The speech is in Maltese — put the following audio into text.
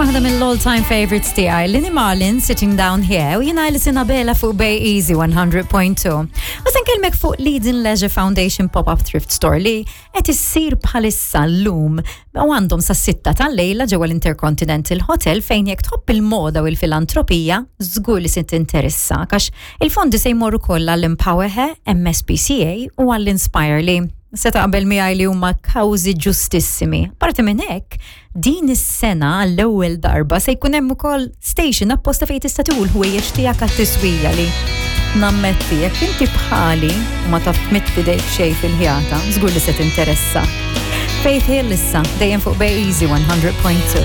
Waħda mill-all time favorites tiegħi, Lini Marlin Sitting Down Here u jiena Alison Abela fuq Bay Easy 100.2. U se nkellmek fuq Leading Leisure Foundation Pop-Up Thrift Store li qed issir bħalissa llum u għandhom sa sitta tal-lejla ġewwa l-Intercontinental Hotel fejn jekk tħobb il-moda u l-filantropija żgur li se tinteressa għax il-fondi se jmorru kollha l-Empower Her, MSPCA u għall-Inspire li se taqbel miegħi li huma kawżi ġustissimi. Parti minn hekk, din is-sena għall-ewwel darba se jkun hemm ukoll station apposta fejn tista' tieħu l-ħwejjeġ tiegħek għat-tiswija li nammetti jekk inti bħali u ma taf tmidd idejk xejn fil-ħjata, żgur li se tinteressa. Faith Hill issa dejjem fuq Bay Easy 100.2.